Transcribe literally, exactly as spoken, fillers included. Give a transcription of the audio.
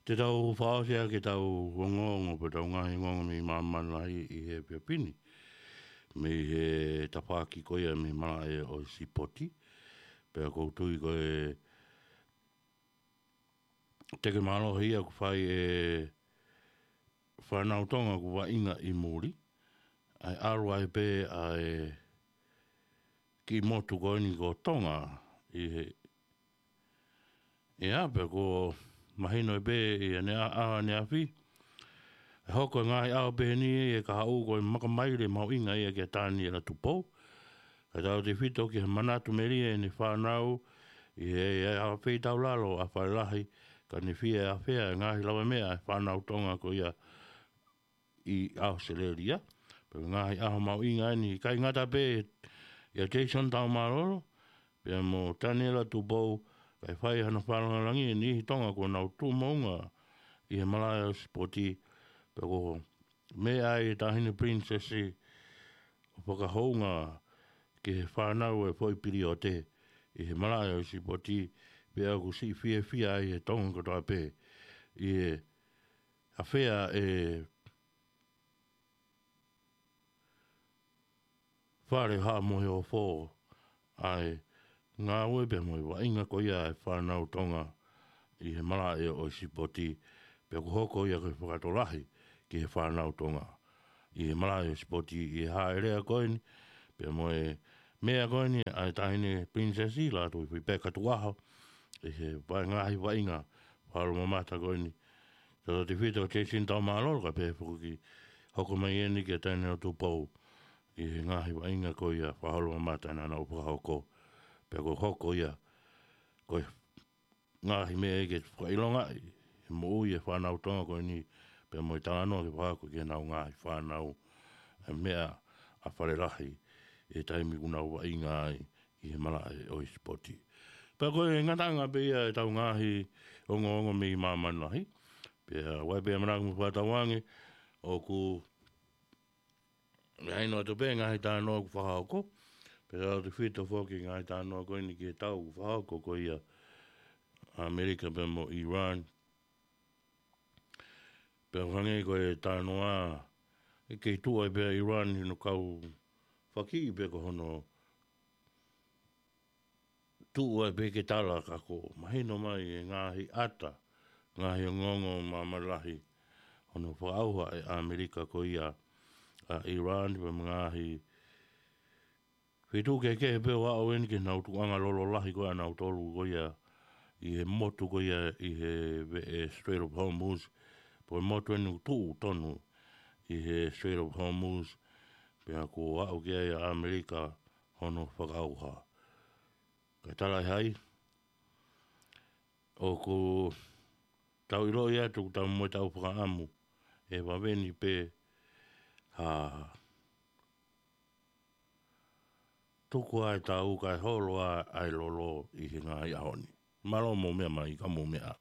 Te tau fakaʻosi ʻaki ʻetau ongoongo pe ʻetau ngaahi ongoongo mei māmani lahi ʻi he efiafi ni, mei he tafaʻaki ko ia mei malaʻe ʻo e sipoti. Pea ʻoku ou tui ko e teke mālohi ia ʻoku fai ʻe he fānau Tonga ʻoku vaʻinga ʻi muli, ʻa e ʻalu ai pē ʻa e kiʻi motu ko eni ko Tonga ʻi he ʻEa, pea ʻoku mahino pē ʻi he ʻaneafi, ʻe hoko e ngaahi ʻaho pehē ni ʻe kahaʻu ko e makamaile mahuʻinga ia kia Taniela Tupou, kae tautefito ki he manatu melie ʻene fānau ʻi he ʻaho feitaulalo ʻa Falelahi, ka ne fie ʻafea e ngaahi lavameʻa ʻa e fānau Tonga ko ia ʻi ʻAositelēlia. Pea ko e ngaahi ʻaho mahuʻinga eni, ʻikai ngata pē ʻia Jason Taumalolo pea mo Taniela Tupou, kae fai hano fakalāngilangi e niʻihi Tonga kuo nau tuʻu moʻunga ʻi he malaʻe ʻo e sipoti. Pea ʻoku meʻa ai e Taʻahine Pilinisesi ʻo fakahounga ki he fānau e foʻi piliote ʻi he malaʻe ʻo e sipoti, pea ʻoku siʻi fiefia ai e Tonga kotoa pē ʻi he ʻafea ʻe Fale Haʻa Moheofo ʻa e ngāue pea mo e vaʻinga ko ia ʻa e fānau Tonga ʻi he malaʻe ʻo e sipoti, pea ʻoku hoko ia ko e fakatokolahi ki he fānau Tonga ʻi he malaʻe ʻo e sipoti ʻi he hāʻele ko eni, pea mo e meʻa ko eni ʻa e Taʻahine Pilinisesi Lātūfuipeka Tukuʻaho, ʻi he vaʻe ngaahi vaʻinga fakaholomamata ko eni. Tautefito Jason Taumalolo, kae pehē foki ki he hoko mai eni kia Taniela Tupou ʻi he ngaahi vaʻinga ko ia fakaholomamata naʻa nau fakahoko. Pea ʻoku hoko ia ko e ngaahi meʻa ia ke fakaʻilongaʻi e moʻui e fānau Tonga ko eni, pea mo e talanoa ke fakahoko ki heʻenau ngaahi fānau e meʻa ʻa Falelahi ʻi he taimi ʻoku nau vaʻinga ai ʻi he malaʻe ʻo e sipoti. Pea ko e ngataʻanga pē ia ʻetau ngaahi ongoongo mei māmani lahi. Pea ʻoku ʻi ai pē ʻamanaki mo e fakatauange ʻoku mahino atu pē ngaahi talanoa ʻoku fakahoko. Pea tautefito foki ngaahi talanoa ko eni ki he tau ʻoku fakahoko ko ia ʻAmelika pea mo Iran. Pea hangē ko e talanoa, ʻe kei tuʻu ai pē ʻa Iran ʻi hono kau fakiʻi pē ko hono tuʻu ai pē ke tala, ka ʻoku mahino mai e ngaahi ʻata, ngaahi ongoongo māmani lahi hono fakaʻauha ʻe ʻAmelika ko ia ʻa Iran, pea mo e ngaahi feituʻu kehekehe pē ʻo aʻu eni ki heʻenau tukuʻanga lolo lahi ko ia ʻanautolu ko ia ʻi he motu ko ia ʻi he veʻe Strait of Hormuz, pea ko e motu eni ʻoku tuʻu tonu ʻi he Strait of Hormuz, pea ʻoku aʻu ki ai ʻa ʻAmelika hono fakaʻauha. Kae talaʻehai, ʻoku tau ʻiloʻi atu, ʻoku tau mo tau fakaʻamu ʻe vave ni pē ha tuku ʻa e tau kae holo ʻa e lolo ʻi he ngaahi ʻaho ni. Mālō mou meʻa mai, ka mou meʻa.